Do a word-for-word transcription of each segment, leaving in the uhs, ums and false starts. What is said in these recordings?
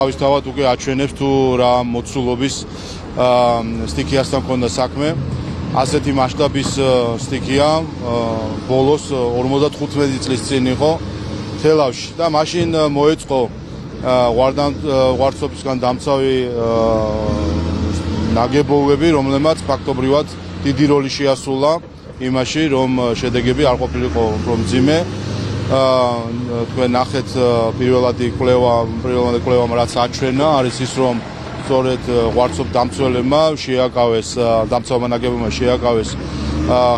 თავისთავად უკვე აჩვენებს თუ რა მოცულობის სტიქიასთან ქონდა საქმე. ასეთი მასშტაბის სტიქია ბოლოს ორმოცდათხუთმეტი წლის წინ იყო თელავში და მაშინ მოეწყო ვარცოფისგან დამცავი ნაგებობები, რომლებმაც ფაქტობრივად დიდი როლი შეასრულა იმაში, რომ შედეგები არ ყოფილიყო უფრო მძიმე. თქვენ ნახეთ პირველადი კვლევა, პირველადი კვლევამ რაც აჩვენა, არის ის, რომ სწორედ ვარცოფ დამცველებმა შეაკავეს, დამცავმა ნაგებობებმა შეაკავეს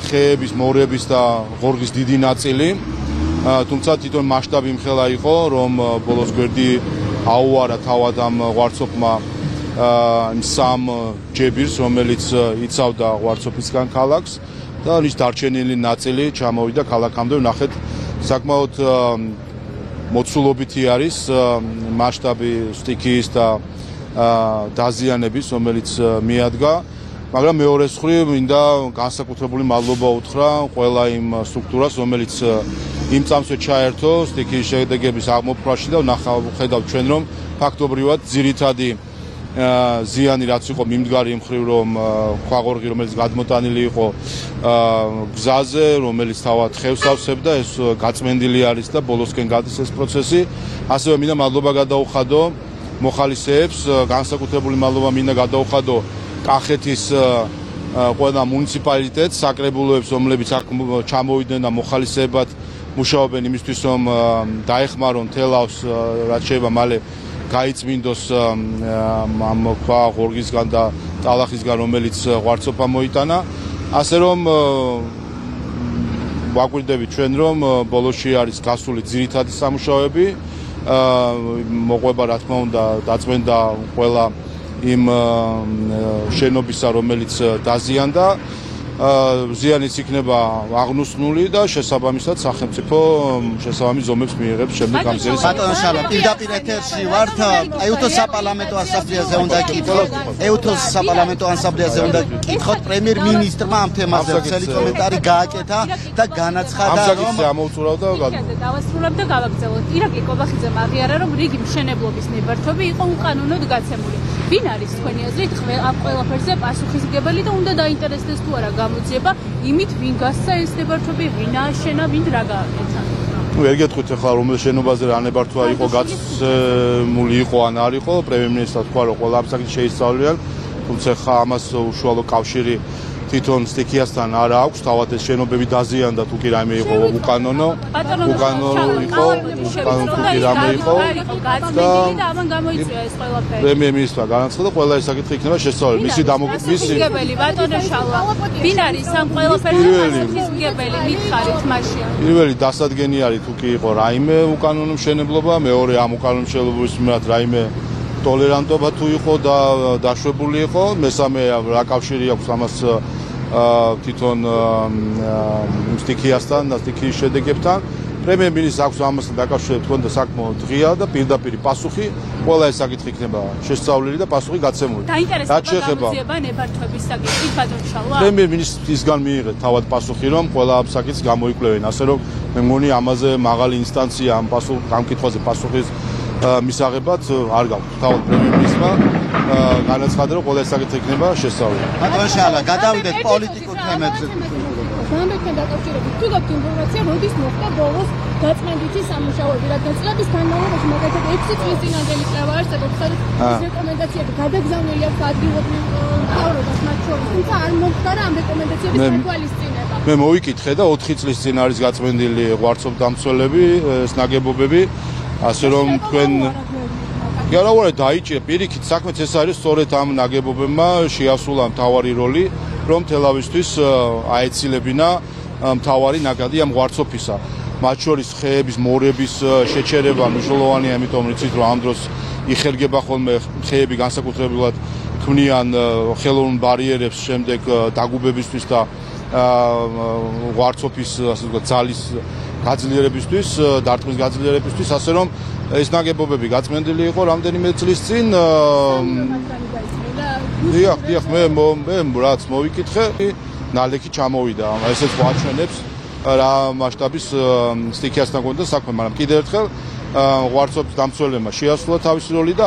ხეების, მორების და ღორღის დიდი ნაწილი. თუმცა თვითონ მასშტაბი იმხელა იყო, რომ ბოლოს გვერდი აუარა თავად ამ ვარცოფმა იმ სამ ჯებირს, რომელიც იცავდა ვარცოფისგან ქალაქს და ის დარჩენილი ნაწილი ჩამოვიდა ქალაქამდე. ნახეთ, საკმაოდ მოცულობითი არის მასშტაბი სტიქიის და დაზიანების, რომელიც მიადგა, მაგრამ მეორე მხრივ მინდა განსაკუთრებული მადლობა უთხრა ყველა იმ სტრუქტურას, რომელიც იმ წამსვე ჩაერთო სტიქიის შედეგების აღმოფხვრაში და ხედავთ ჩვენ, რომ ფაქტობრივად ძირითადი ზიანი რაც იყო მიმდგარი იმ მხრივ, რომ ქვაღორღი, რომელიც გადმოტანილი იყო გზაზე, რომელიც თავად ხევს ავსებდა, ეს გაწმენდილი არის და ბოლოსკენ გადის ეს პროცესი. ასევე მინდა მადლობა გადაუხადო მოხალისეებს, განსაკუთრებული მადლობა მინდა გადაუხადო კახეთის ყველა მუნიციპალიტეტს, საკრებულოებს, რომლებიც აქ ჩამოვიდნენ და მოხალისეებად მუშაობენ იმისთვის, რომ დაეხმარონ თელავს, რაც შეიძლება მალე გაიწმინდოს ამ ქვაღორღისგან და ტალახისგან, რომელიც ვარცოფა მოიტანა. ასე რომ ვაკვირდებით ჩვენ, რომ ბოლოში არის გასული ძირითადი სამუშაოები, მოყვება რა თქმა უნდა დაწმენდა ყველა იმ შენობისა, რომელიც დაზიანდა. ზიანიც იქნება აღნუსნული და შესაბამისად სახელმწიფო შესაბამის ზომებს მიიღებს შემდეგ ამ ზერის. ბატონო შალვა, პირდაპირ ეთერში ვართ. ეუთოს საპარლამენტო ასამბლეაზე უნდა კითხოთ. ეუთოს საპარლამენტო ასამბლეაზე უნდა კითხოთ პრემიერ-მინისტრმა ამ თემაზე ხელი კომენტარი გააკეთა და განაცხადა, რომ ამ საკითხზე ამოუწურავ და დავასრულებ და გავაგზავნოთ. ირაკლი კობახიძემ აღიარა, რომ რიგი მშენებლობის ნებართვები იყო უკანონოდ გაცემული. ვინ არის თქვენი აზრით ამ ყველაფერზე პასუხისმგებელი და უნდა დაინტერესდეს თუ არა გამოძიება იმით, ვინ გასცა ეს ნებართვები, ვინ ააშენა, ვინ რა გააკეთა? ნუ ვერ გეტყვით ახლა რომელ შენობაზე რა ნებართვა იყო გაცემული იყო ან არ იყო, პრემიერ-მინისტრმა თქვა, რომ ყველა ამ საკითხს შეისწავლიან, თუმცა ხა ამას უშუალო კავშირი თვითონ სტიქიასთან არ აქვს, თავად ეს შენობები დაზიანდა თუ კი რაიმე იყო უკანონო, უკანონო იყო, უკანონო თუ კი რაიმე იყო და ამან გამოიწვია ეს ყველაფერი. პრემიერ-მინისტრმა განაცხადა, ყველა ეს საკითხი იქნება შესწავლილი. მისი დამოკიდების ბატონო შალვა, ვინ არის ამ ყველაფერზე პასუხისმგებელი, მითხარით მაშინ. პირველი დასადგენი არის თუ კი იყო რაიმე უკანონო მშენებლობა, მეორე ამ უკანონო მშენებლობის მიმართ რაიმე ტოლერანტობა თუ იყო და დაშვებული იყო, მესამე რა კავშირი აქვს ამას თვითონ სტიქიასთან და სტიქიის შედეგებთან. პრემიერ-მინისტრს აქვს ამასთან დაკავშირებით თქონდა საკმაოდ ღია და პირდაპირ პასუხი, ყველა ეს საკითხი იქნება შესწავლილი და პასუხი გაცემული. რაც შეეხება გამოძიება ნებართვების საკითხით, ბატონო შალვა, პრემიერ-მინისტრისგან მიიღეთ თავად პასუხი, რომ ყველა ამ საკითხს გამოიკვლევენ, ასე რომ მე მგონი ამაზე მაღალი ინსტანცია ამ პასუხ ამ კითხვაზე პასუხის მისაღებად არ გაქვს. თავად პრემიერ-მინისტრმა განაცხადა, რომ ყველა ეს საკითხი იქნება შესწავლილი. ბატონო შალვა, გადავიდეთ პოლიტიკურ თემებზე. განდაკენ დაკავშირებით თუ გაქვთ ინფორმაცია, როდის მოხდა ბოლოს გაწმენდითი სამუშაოები, რადგან წლების განმავლობაში მაგალითად ექვსი წლის წინანდელი კვლევა არსებობს, სადაც რეკომენდაციები გადაგზავნილი აქვს ადგილობრივ მთავრობას მათ შორის, თუმცა არ მოხდა რა ამ რეკომენდაციების თვალისწინება. მე მოვიკითხე და ოთხი წლის წინ არის გაწმენდილი ვარცოფ დამცველები, ეს ნაგებობები, ასე რომ თქვენ არა ვარ დაიჭირე პირიქით საქმეც ეს არის, სწორედ ამ ნაგებობებმა შეასრულა მთავარი როლი, რომ თელავისთვის აეცილებინა მთავარი ნაკადი ამ ვარცოფისა. მათ შორის ხეების, მორების შეჩერება მნიშვნელოვანია, იმიტომ რომ იცით, რომ ამ დროს იხერგება ხოლმე ხეები განსაკუთრებულად ქმნიან ხელოვნურ ბარიერებს შემდეგ დაგუბებისთვის და ვარცოფის ასე ვთქვათ ძალის გაძლიერებისთვის, დარტყმის გაძლიერებისთვის, ასე რომ ეს ნაგებობები გაწმენდილი იყო რამდენიმე წლის წინ. დიახ, დიახ, მე მე რაც მოვიკითხე, ნალექი ჩამოვიდა. ესეც გვაჩვენებს რა მასშტაბის სტიქიასთან გონდა საქმე, მაგრამ კიდევ ერთხელ ვარცობის დამცველებმა შეასრულა თავისი როლი და